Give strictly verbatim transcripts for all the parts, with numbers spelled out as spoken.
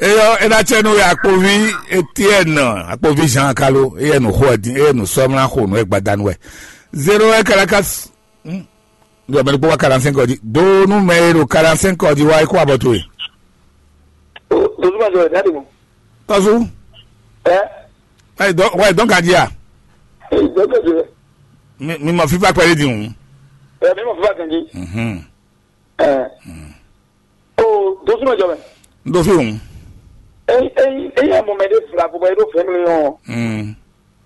Eyɔ, ena tsɛ nu akpovi Etienne, akpovi Jean Kalo, eye nu xo ɛ din, eye nu sɔmla xo nu ɛ gbadanu wɛ. Zéro un Caracas. Hmm. Yɔ mɛ ɖokpó wá quarante-cinq ɔdi. Do nú mɛ e ɖo quarante-cinq ɔdi wá é kó abɔ towe. Tɔzu ma jɔ ɛ dadi mo. Tɔzu. Ɛ. Ɛ dɔn wɛ dɔn ka di a. Ɛ dɔn ka di. Mi mi mɔ fifa kpɛɖe di hùn. Ɛ mi mɔ fifa kan di. Mhm. Ɛ. O dosu ma jɔ mɛ. N do fi hùn. Eyi eyi eyi amɔ mɛ de fila ko bɔ e do fɛn mi yɔn. Mm.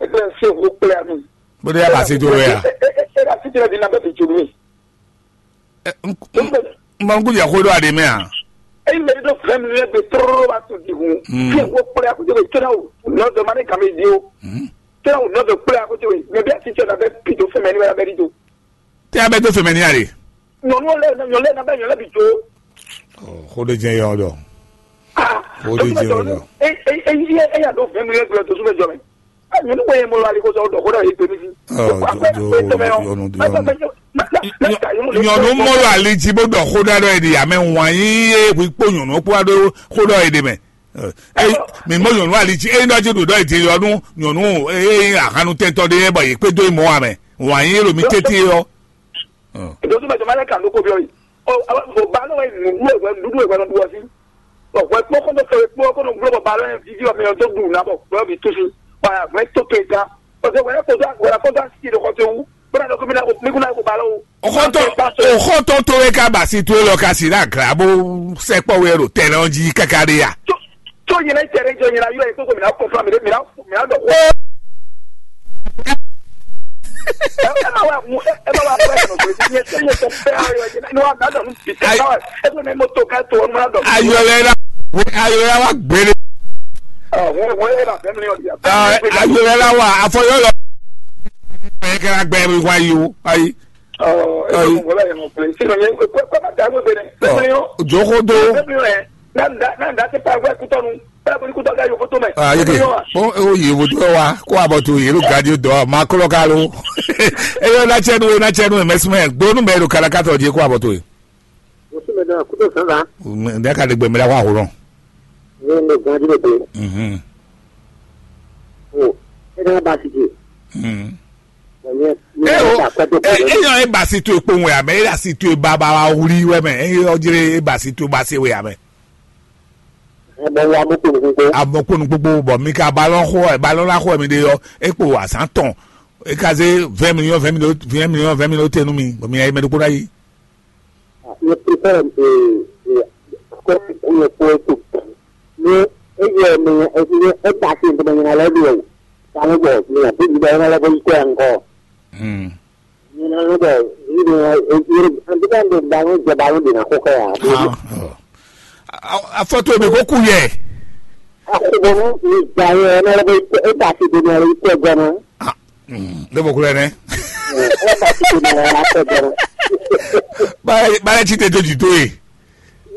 E kple se ko kple ami. Bó dé yà bá sí tó wɛ a. E e e la si tẹ di na bɛ bi tso mi. Ɛ, n- n- n ma n kú jẹ xó ɖó aɖe mɛ a. Eyi mɛ de do fɛn mi yɛ gbe tóró ba to di hun. Mm. Fi ko kple a ko tẹ bɛ tẹ na o nɔ dɔ ma ne kame di o. Mm. Tẹ na o nɔ dɔ kple a ko tẹ bɛ mɛ bi a si tẹ na bɛ pi do fɛn mɛ ni wɛ la bɛ di do. Tɛ a bɛ dó fɛmɛ ní a ɖe. Nyɔnu lɛ nyɔnu lɛ nabɛ nyɔnu lɛ bi jo. Xó ɖé jẹ́ yɔ ɖɔ. Ah, Xó ɖé jẹ́ yɔ ɖɔ. Eya ɖo vɛn mi lɛ gblɔ to súnmɛ jɔ mɛ. Nyɔnu wɛ mɔ ali ko sɔ dɔ xó dɔ yɛ gbemi si. Yɔnu yɔnu. Nyɔnu mɔ lɔ ali dzi bó dɔ xó dɔ ɖɔ yɛ di amɛ wan yi ye hu kpó nyɔnu kpó aɖo xó dɔ yɛ di mɛ. Ɛ, ɛ, mi mɔ nyɔnu ali dzi eye nɔ dzi ɖo dɔ yɛ di yɔ nu nyɔnu eye ahanu tɛntɔ ɖe yɛ bɔ yɛ kpé dó yi mɔ wa mɛ wan yi lo mi tete yɔ. Ɖo súnmɛ jɔ ma lɛ kan ɖó ko byɔ yi. O ba lɔ wɛ nǔɖuɖu wɛ nǔɖuɖu wɛ nɔ ɖu ɔ sí. Ɔ hwɛ kpɔ́ kɔn tó fɛ kpɔ́ kɔn nɔ gblɔ bɔ ba lɔ yɛ vivi ɔ mɛ ɔ dó ɖu nà bɔ gbɛ ɔ bǐ tó sí. Wa hwɛ tó tó yi gán. Ɔ hwɛ hwɛ kɔn tó hwɛ kɔn tó asi ɖo xɔ tó wú. Bó na dɔ kó mi na mi kún na ko ba lɔ o. Oxɔtɔ oxɔtɔ tó wɛ ká ba si tó lɔ ká si ɖe aglá bó sɛkpɔ wɛ ɖo tɛnɛ ɔ́ jí káká ɖé ya. Tó tó yẹn lɛ tẹ̀lé jọ yẹn la yọ yẹn kókó mi na kó fúnra mi mi na mi na dɔ kó. Ẹ ẹ bá wà mú ẹ bá wà fún ẹ kàn pé ní ẹ ní ẹ tẹ fẹ́ ayọ̀ ẹ ní wà mí àdàlù bì tẹ báwà ẹ tó ní mo tó ká tó ọdún mọ́ra dọ̀. Ayọ̀lẹ̀ la ayọ̀lẹ̀ la wa gbére. Wọ́n wọ́n ẹ bá fẹ́ mi ní ọ̀dì. Ayọ̀lẹ̀ la wa afọyọ́ lọ. Ẹ kẹ́ra gbẹ mi wá yìí o ayi. Ɔ ɛ bɛ mɔgɔ la yɛlɛ ɔkpɛlɛ sinɔ yɛ kɔ kɔ ma da ko bɛnɛ. Ɔ joxo do. Bɛnɛ yɛ n'a da n'a da se pa wɛ kutɔnu bɛɛ ko kutɔ ka yovo to mɛ. Aa yeke o o yevo to wa ko abɔ to yelo gadi dɔ ma kɔlɔ ka lo. Eyɔ na cɛ nu na cɛ nu mɛ sumɛ gbonu mɛ do kalakatɔ je ko abɔ to ye. Wosu mɛ dɔ kutɔ sansan. Ne ka de gbɛmɛ la ko ahorɔn. Ne ne gadi ne be. Mhm. O e na ba si je. Mhm. Eo, eyɔ e ba si to ekpo wɛ amɛ, e asi to e ba ba wa wuli wɛ mɛ, eyɔ jere e ba si to ba se wɛ amɛ. Amɔkponu gbogbo bɔ mi ka balɔn xo ɛ balɔn la xo ɛ mi de yɔ, ekpo azan tɔn, e ka ze vingt millions vingt millions vingt millions vingt millions te nu mi bɔ mi ayi mɛ ɖokpo na yi. Ye prepare e e akɔ ko ye ko to. Ne e ye me e e ta si ntoma nyina lɛ do. Kanu bɔ mi na bi bi ba na lɛ ko ko ankɔ. Hmm. Nyina lɛ bɔ ni de e e an bi kan de ba no je ba no de na ko ka ya. Ah, oh. A- a- afɔto mi ko ku yɛ. Akubonu ni gba ye na lɛ ko e ta si de na lɛ ko gana. Ah, hmm, de bɔ kulɛ nɛ. E ta si de na lɛ ko gana. Ba ba ti te to ti to ye.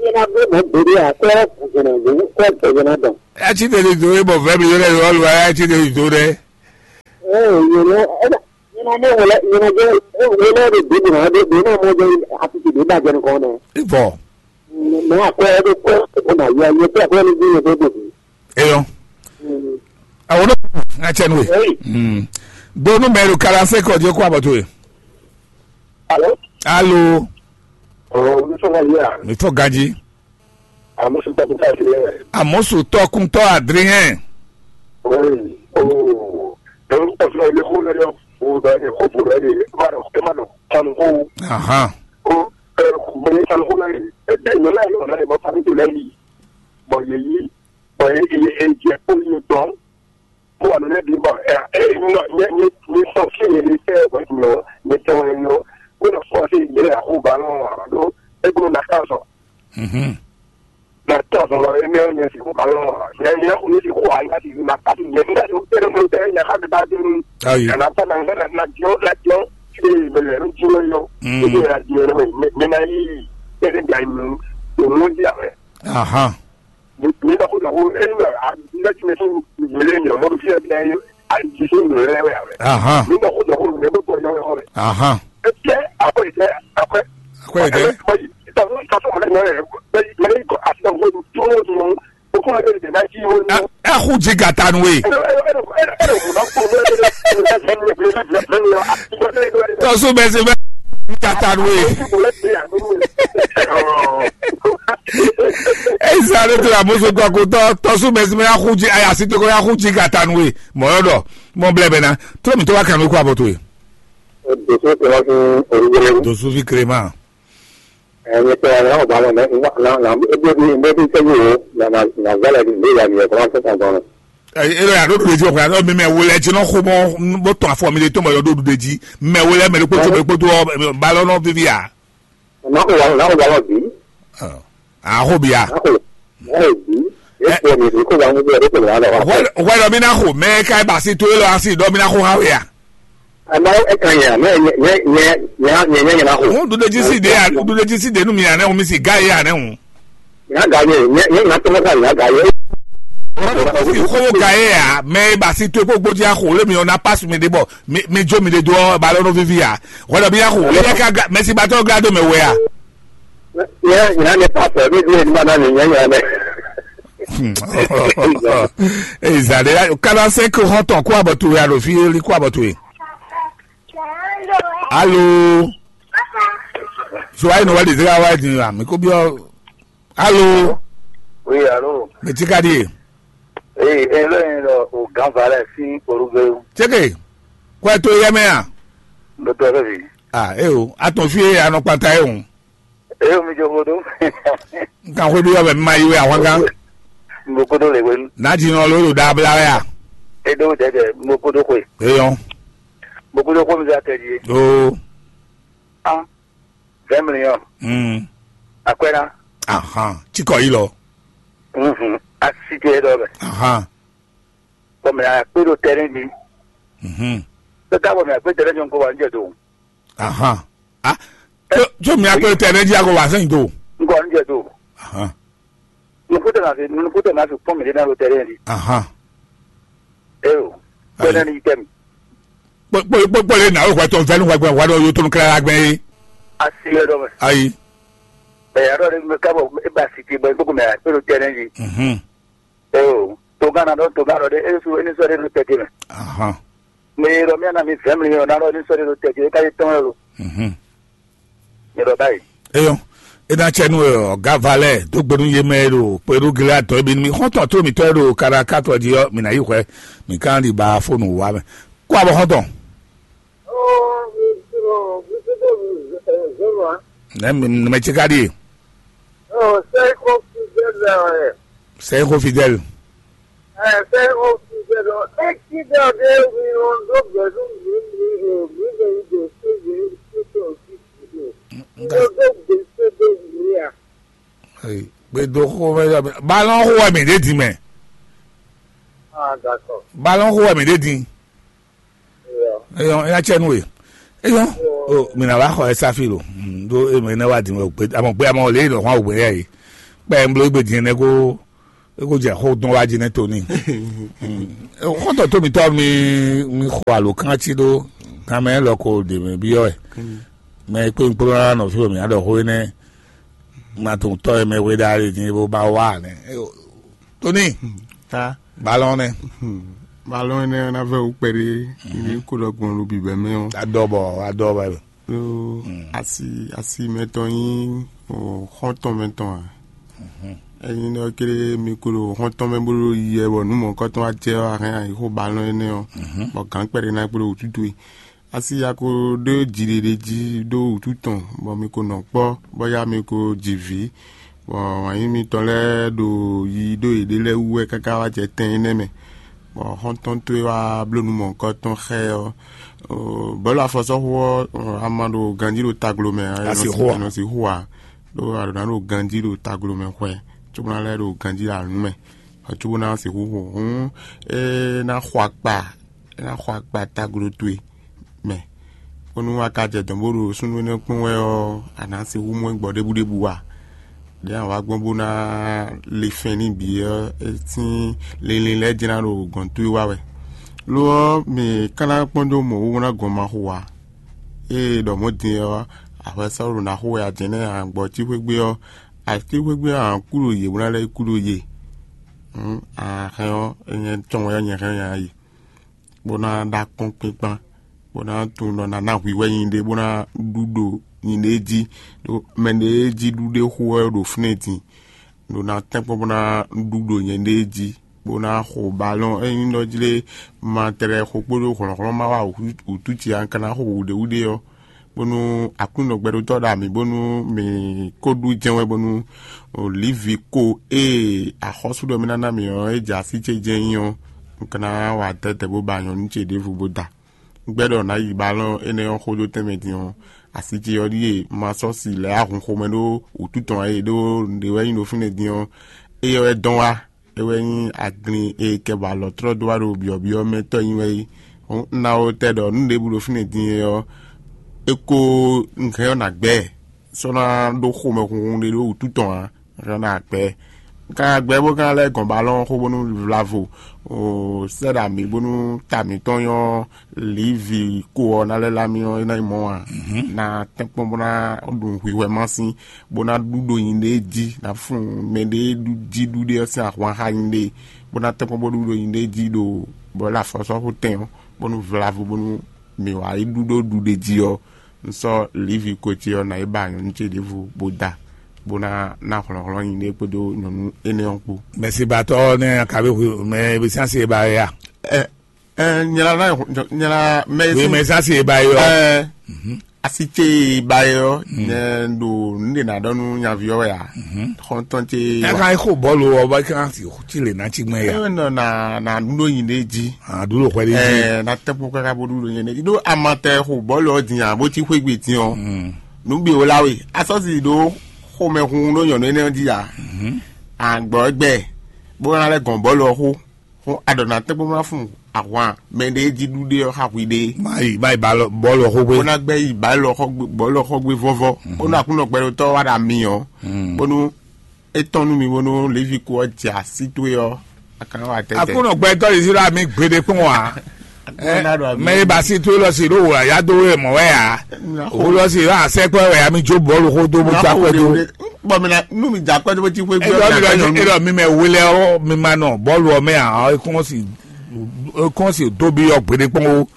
Ye na be mo be de a ko ko gana ko ko gana dɔn. A ti te to ye bɔ vɛ mi yɔrɔ yɔrɔ lu a ti te to dɛ. Ɛ, nyɛ nɔ, ɛ, nyɛ nɔ mɔ wɛlɛ, nyɛ nɔ jɛ, ɛ, wɛlɛ ɖo ɖěbǔ nɔ ɖe, ɖě nɔ mɔ jɛ asisi ɖě ba jɛ nukɔn nɛ. Ivɔ. Mɛ akwɛ ɖo kɔ, ɛ, na yɛ, nyɛ tɛ akwɛ ni di nyɛ tɛ tɛ. Eyɔ. Awo ɖo ŋa cɛ nu we. Hey. Mm. Do nu mɛ ɖo kala se kɔ je kó abɔ to ye. Alo. Alo. Oh, mi sɔn ka yia. Mi tɔ ganji. Amosu tɔkuntɔ Adrien. Amosu tɔkuntɔ Adrien. Oui. Oh. Donc, parce que le coup là, faut dans les cours pour aller, ma non, ma non, ça nous faut. Aha. Oh, euh, mais ça nous faut là, et puis nous là, on a les bonnes familles de la vie. Bon, il y a eu, bon, il y a eu, il y a eu, il y a eu, Bó wà lónìí bí bọ̀ ẹ̀ ẹ̀ nọ nyɛ nyɛ nyɛ sɔ fí nyɛ ní sẹ́ ẹ̀ nọ nyɛ tẹ́ wọn nọ. Bó nọ fọ́ sí yɛ àkóbá lọ. Ló egbò na ká sọ. Mhm. Na ká sọ lọ, emi ọ̀ nyɛ sì kó ba lọ. Nyɛ nyɛ kò ní sì kó àyíká sì ma ká sì nyɛ nígbà tó tẹ́lẹ̀ mú tẹ́lẹ̀ nyɛ ká ti bá dé ní. Ayi. Kana pa na nga na na jɔ na jɔ. Ṣé ìbẹ̀rẹ̀ ló jí lọ yọ? Mm. Ṣé ìbẹ̀rẹ̀ àjẹyọ̀ rẹ̀ mi na yí? Ṣé ìbẹ̀rẹ̀ àjẹyọ̀ rẹ̀ mi na yí? Aha. Nígbà kó dọ̀kú ẹni náà, nígbà tí mi tún gbélé mi ọmọ fi ẹgbẹ́ ayé àìjíṣẹ́ mi rẹ wẹ̀ rẹ̀. Aha. Nígbà kó dọ̀kú mi bẹ bọ̀ yọ ẹ̀kọ́ rẹ̀. Aha. Ẹ jẹ́ àpò ìjẹ́ àpò. Àpò ìjẹ́. Ìtàkùn ìtàkùn ọmọdé náà rẹ̀ bẹ́ẹ̀ mẹ́rin kọ́ àti ọmọ tó ń tún ó kún ẹgbẹ́ ìdè náà jí ó ní. Ẹ kú jí gàtanu we. Tɔsu bɛ se bɛ gàtanu we. Esa ɖo to amoso kɔ ko tɔ tɔsu mɛ sinmi ya xu ji aya si to ko ya xu ji ka ta nu we mɔ yɔ dɔ mɔ blɛ bɛ na trɔ mi to wa kan nu ko abɔ to ye. Dosu kɛmɛ fún olúwẹ̀rẹ̀. Dosu fi kere ma. Ẹ̀yin tẹ ẹ̀ náà bá lọ náà náà náà ebi ebi ebi tẹ́jú wo na na na gbọ́dọ̀ ní ìlú ìyá mi ẹ̀ kọ́má fún kan gan. Elo ya ɖo ɖo dzi ɔkpa ɖo mi mɛ wo lɛ dzi nɔ xo mɔ bó tɔn afɔ mi ɖe tó mɔ yɔ ɖo ɖuɖe dzi mɛ wo lɛ mɛ ɖokpó tó mɛ ɖokpó tó ɔ balɔ nɔ vivi a. N'a ko wa n'a ko wa lɔ bi. Aho bia. N'a ko n'a ko bi. E ko mi ko wa mo bi ko wa lɔ. Wɛlɔ mi na xo mɛ ka ba si to e lɔ asi dɔ mi na xo ha wɛ ya. Ama e kan ya mɛ nyɛ nyɛ nyɛ nyɛ nyɛ na xo. Ŋun ɖuɖe dzi si de ya ɖuɖe dzi si de nu mi ya nɛ ŋun mi si ga ye ya nɛ ŋun. Nyɛ ga ye nyɛ nyɛ na tɔmɔ ka nyɛ ga ye. Xo ga ye ya mɛ ba si to e ko gbodzi axo le mi ɔ na pasu mi de bɔ mi mi jo mi de do ɔ ba lɔ no vivi ya. Wala bi ya xo e ya ka ga mɛ si ba tɔ ga do mɛ wɛ ya. Nyɛ nyɛ ne pa pɛ mi due ni ma na mi nyɛ nyɛ mɛ. Ezali quarante-cinq hɔntɔn kó abɔ to ya ɖo fi li kó abɔ to ye. Alo. So ayi nɔ wa de zira wa di wa mi ko biɔ. Alo. Oui, alo. Mɛ ti ka di ye. Ee, e lɔ yin lɔ o gan valɛ sin orugbe. Tseke. Kɔ to yɛ mɛ a. N bɛ tɔ fɛ fi. Ah, e o. A tɔn fi ye a nɔ kpata ye o. Eye mi jo xo ɖo. N kan xwé ɖó yɔ bɛ mi ma yi wɛ ahwangán. Mo koɖo le wenu. N'a dzi nɔ ló ɖo ɖa bla wɛ a. Eɖo dɛdɛ mo koɖo xwe. Eyɔn. Mo koɖo xwe mi za tɛ dzi. Oo. An. Vingt millions. Hmm. Akwɛna. Ahan. Cikɔ yi lɔ. Mhm. Asi te dɔ bɛ. Ahan. Bɔn mɛ akpé ɖo tɛrɛn di. Mhm. Tɛ ta bɔ mɛ akpé tɛrɛn di ŋkɔ wa n jɛ do. Ahan. Ah, tso tso mi akpé tɛ ne dzi akɔ wa sɛn do. Ŋkɔ n jɛ do. Ahan. Nuku tɛ ma fi nuku tɛ ma fi kpɔn mi de na lo tɛrɛn di. Ahan. Eyo. Ayi. Tɛrɛn di tɛ mi. Kpɔ kpɔ kpɔ kpɔ le na o wa tɔn fɛn wa gbɛ wa dɔ yo tɔn kla gbɛ ye. Asi yɛ dɔ mɛ. Ayi. Ɛ yàrá de mi ka bɔ e ba si ti bɔ e gbogbo mɛ a e lo tɛrɛn di. Mhm. Eo, togán ná ɖɔ togán ɖɔ ɖé, é sú é ní sɔ́ ɖé nú tɛ́ ce mɛ. Ahan. Mi ɖɔ mía ná mi vɛ̌ mlí ɔ́, ná ɖɔ é ní sɔ́ ɖé nú tɛ́ ce, é ka yi tɔ́n wɛ lo. Mhm. Mi ɖɔ báyìí. Eyɔn, é ná cɛ nú ɔgá valɛ dó gbe nú yé mɛ e ɖo kpeɖú Gileadi tɔn e bǐ nú mì xɔ́ntɔn tó mǐtɔn e ɖo Kaɖaká tɔ jí ɔ́, mǐ ná yi hwɛ, mǐ ka ná ɖi ba fó nǔ wa mɛ. Kó abɔ xɔ́ntɔn. Oh, mi, mi, mi, mi, mi, mi, Nɛ mɛ mɛ ce ka ɖie. Oh, c'est confidentiel, ouais. C'est confidentiel. Eh, c'est confidentiel. Accident de Mirondo Gbɛdú mi mi mi mi mi de se de se de osi de. Mirondo gbèsè de mi a. Gbedo xo mɛ yɔ mi. Balɔn xo wɛ mi ɖe din mɛ. Ah, d'accord. Balɔn xo wɛ mi ɖe din. Eyɔn, eya cɛ nu e. Eyɔn, o mina wa xɔ esa fi lo. Do e mɛ ne wa din mɛ o gbe amɔ gbe amɔ le lɔ hwan o gbe ya yi. Kpɛ n blo gbe din ne ko. É ko jɛ xó dɔn wá jí nɛ́ Toni. Xɔ́ntɔn tó mitɔ́ mi mi xo alǒkan cí ɖó kanmɛ élɔ́ ko ɖě mɛ byɔ́ wɛ. Mɛ e kpé un kplɔ́n ná nɔ fí wɛ mǐ ná ɖɔ xó énɛ́. Ma tunwun tɔ́ e mɛ hwe ɖa ɖe din bó ba wá nɛ́. Toni, Ta balɔn nɛ́. Balɔn énɛ́ ɔ́ ná vɛ́ wú kpɛɖé ní kó ɖɔ gbɔn ɖo bǐbɛ́ mɛ ɔ́. Adɔbɔ adɔbɔ. Ɖó asi asi mɛtɔn nyí o xɔ́ntɔn mɛtɔn ǎ. Ényí ɖɔ kéré mi ko ɖo xɔ́ntɔn mɛ bó ɖo yi wɛ bɔ nǔ mɔ̌kɔtɔn wá jɛ ɔ́, a hɛn ayi xó balɔn énɛ́ ɔ́, bɔ gǎn kpɛɖé ná kplé wútu towe. Asi ya ko ɖó jiɖiɖe jí ɖó wútu tɔn, bɔ mi ko nɔ kpɔ́, bɔ ya mi ko ji vǐ, bɔ wǎnyí mitɔn lɛ́ɛ ɖo yi ɖó yěɖée lɛ́ɛ wú wɛ káká wá jɛ tɛn énɛ́ mɛ, bɔ xɔ́ntɔn towe wá bló nǔ mɔ̌hunkɔtɔn xá ɛ ɔ́, bɔ̌lu afɔsɔ́xu ɔ́, a ma ɖo ganjí ɖo taglo mɛ ǎ, Asi xo ǎ. Nɔ sixú ǎ, ɖó a ɖǒ ná ɖo ganjí ɖo taglo mɛ hwɛ, cóbó ná lɛ́ ɖo ganjí ɖo alǔ mɛ, cóbó ná sixú xo. Hǔn é ná xɔ akpa, é ná xɔ akpa taglo towe mɛ, bónú a ka jɛ dɔ̌n bó ɖo súnnu énɛ́ kpɔ́n wɛ ɔ́, a nǎ sixú mɔ ɛ gbɔ ɖěbǔɖěbǔ ǎ. Ɖěe a wǎ gbɔn bó ná le fɛn n'i bǐ ɔ́, é sín linlin lɛ́ɛ jlá ɖo gɔ̌n towe wá wɛ. Lo ɔ́, mǐ ka ná kpɔ́n dó mɔ̌ wú bó ná gɔn ma xo ǎ. Ée ɖɔ mɔ̌ din ɔ́, a hwɛ sɔ́ ɖo ná xo wɛ a jɛ̌n nɛ́ a gbɔ cí xwé gbe ɔ́, a cí xwé gbe ɔ́, a kú ɖo yě bó ná lɛ́ kú ɖo yě. Hǔn a hɛn ɔ́, é nyɛ tɔn wɛ ɔ́, nyɛ hɛn nya yi, bó ná ɖó akɔ́nkpinkpan, bó ná tunwun ɖɔ ná ná hwǐhwɛ́ nyɛɖée bó ná ɖu ɖo nyɛɖée jí, ɖó mɛ ɖě jí ɖu ɖé xo wɛ ɖo fínɛ́ din, ɖó ná tɛ́nkpɔ́n bó ná ɖu ɖo nyɛɖée jí, bó ná xo balɔ́n ényí ɖɔ jlé ma tlɛ xo kpódó hlɔ̌nhlɔ́n ma wá wǔtú ce a ka ná xo wǔɖéwúɖé ɔ́, bónú Aklúnɔ gbɛɖótɔ́ ɖo amǐ bónú mǐ kó ɖu jɛ́n wɛ bónú Livi ko ée axɔ́sú ɖɔ mì ná ná mì ɔ́, é jɛ así ce jɛ́n nyí ɔ́, un ka ná wa dɛ̌dɛ̌ bó ba nyɔ̌nu ce ɖěvo bó da. Un gbɛ́ ɖɔ nǎ yi balɔ́n énɛ́ ɔ́ xó dó tɛnmɛ din ɔ́, así ce ɔ́ ɖíe ma sɔ́ si lɛ̌ ahun xomɛ ɖó wǔtu tɔn ǎ é ɖó nǔɖé wɛ nyí ɖo fínɛ́ din ɔ́, éyɛ́ wɛ dɔn wá. É wɛ nyí aglin e kɛ ba alɔ̌tlɔ́ dó wá ɖo byɔ̌byɔ́ mɛ tɔ́ nyi wɛ é. Un ná wo tɛ ɖɔ nǔ ɖěbǔ ɖo fínɛ́ din é ɔ́, é ko un hɛn ɔ́ nǎ gbɛ sɔ́ ná ɖó xomɛhunhun ɖé ɖó wǔtu tɔn ǎ. Un hɛn ɔ́ ná gbɛ. Un ka gbɛ bó ka lɛ́ gɔn balɔ́n xó bónú vlavo sɛ́ ɖo amǐ bónú ta mǐtɔn nyɔ́ Livi ko ɔ́ ná lɛ́ lá mì ɔ́, é ná nyí mɔ̌ ǎ. Ná tɛ́nkpɔ́n bó ná ɖu hwihwɛ ma sín, bó ná ɖu ɖo nyǐɖée jí, ná fun mɛ ɖé jí ɖu ɖé ɔ́ sín ahwan xá nyǐɖée, bó ná tɛ́nkpɔ́n bó ɖu ɖo nyǐɖée jí ɖo bɔ é afɔsɔ́xu tɛn ɔ́, bónú vlavo bónú mǐ wá yi ɖu ɖó ɖuɖe jí ɔ́, un sɔ́ Livi ko ce ɔ́ ná yi ba nyɔ̌nu ce ɖěvo bó da, bó ná ná hlɔ̌nhlɔ́n nyǐɖée kpódó nyɔ̌nu énɛ́ ɔ́ kpó. Mɛsibatɔ nɛ kabe hu mɛ bɛ sansi e ba ya. Ɛ, ɛ, nyɛ la na nyɛ la mɛ Oui, si. Mais ça c'est Bayo. Ɛ, asi ce ba yɔ nyɛ ɖo nu de na ɖɔ nu nyavi ɔwɛ ya. Xɔntɔn ce. Ẹ kan xo bɔlu ɔ ba kan si ti le na ti gbɛ ya. Ɛ nɔ na na nu ɖo yin de ji. A dúró xɔ de ji. Ɛ na tɛ kpɔ kaka bo ɖu ɖo yin de ji ɖo amatɛ xo bɔlu ɔ din a bo ti xwe gbe din ɔ. Nu bi o la we asɔsi ɖo xomɛ hun ɖo nyɔnu ene ɔ ji a. Agbɔ gbɛ bó na lɛ gɔn bɔlu ɔ xo. Xó aɖɔ̌natɛ́ bó ná fun ahwan mɛ ɖé jí ɖuɖé ɔ́ xa hwi ɖé. Mayi mayi bɔlɔ xógbé. Bó ná gbɛ́ yi bɔlɔ xɔgbé vɔ́vɔ́. Bónú Aklúnɔ gbɛɖotɔ́ wá ɖo ami ɔ́, bónú é tɔ́n nú mi bónú Levíko ɔ́ jɛ así towe ɔ́, a ka nɔ wa tɛ́tɛ́. Aklúnɔ gbɛtɔ́ Izlayɛ́li mi gbeɖé kpɔ́n ǎ. Mɛ e ba si towe lɔ si ɖó wǒ ya dó wé mɔ̌ wɛ ǎ. Wǒ lɔ si ɖó asɛkpɔ́ wɛ ya mi jó bɔlu xó dó bó já kpɛ́ dó. Bɔn mi na nu mi dza kpɛ́ dó bó ti xwé gbé. Edɔ mi lɔ edɔ mi mɛ wele ɔ mi ma nɔ bɔlu ɔ mɛ a ɔ ekɔn si ekɔn si do bi ɔ gbeɖe kpɔn o.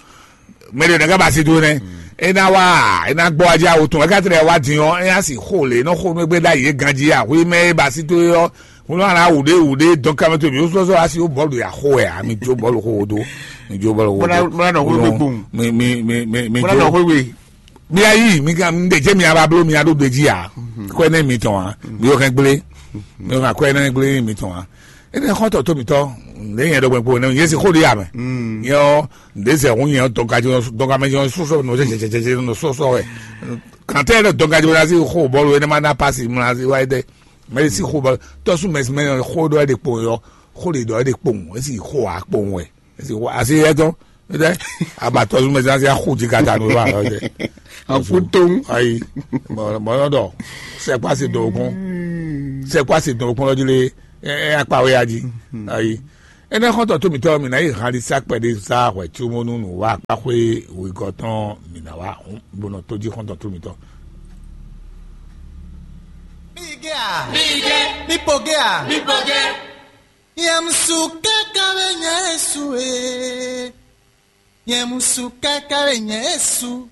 Mɛ de ne ka ba si do nɛ. E na wa e na gbɔ adzi awo tɔn e ka tɛ wa din ɔ e ya si xo le nɔ xo nugbe da yi ganji a hui mɛ e ba si do yɔ ŋlɔ ana wuɖe wuɖe dɔn kamɛ to mi wosɔ sɔ asi wo bɔlu ya xo ɛ a mi jo bɔlu xo do mi jo bɔlu xo do. Bɔla nɔ xo gbe gbɔn. Mi mi mi mi mi jo. Bɔla nɔ xo gbe. Mía yí mi kan mi ɖe jẹ́ mi aba bló mi aɖó ɖe jí a kɔɛ nɛ mi tɔn a mi yɔ kɛ gblé mi yɔ kɛ kɔɛ nɛ gblé mi tɔn a ene xɔtɔ tó mi tɔ ne yẹn dɔgbɛ kpo ne yẹn si xó di amɛ yɛ ɔ ne zɛ hun yẹn dɔgajɔ dɔgamɛ yẹn sɔsɔ nɔ sɛsɛsɛ nɔ sɔsɔ wɛ kantɛ yẹn dɔgajɔ na si xó bɔlu yẹn ma na pasi mla si wa yɛ dɛ mɛ si xó bɔlu tɔsu mɛ si mɛ xó dɔ yɛ de kpo yɔ xó de dɔ yɛ de kpo esi xó a kpo wɛ. Esi wa asi yɛ tɔn. Ɛdɛ abatɔ zun mɛ sansi axu dzi kata nu wa ɔdɛ. Axu tɔn. Ayi. Bɔn bɔn dɔ sɛkpa si dɔn okun sɛkpa si dɔn okun lɔ dzi le. Ɛ, ɛ, akpa wɛ ya jí. Ayi. Ene xɔntɔn to mitɔ mi na yi hali sa kpɛɖe sa hwɛ tso mo nu nu wa akpa xwe wigɔ tɔn mi na wa hun bono to jí xɔntɔn to mitɔ. Mi ge a? Mi ge. Mi po ge a? Mi po ge. Yɛmusu kaka bɛ nyɛ Yesu e. Yɛmusu kaka bɛ nyɛ Yesu.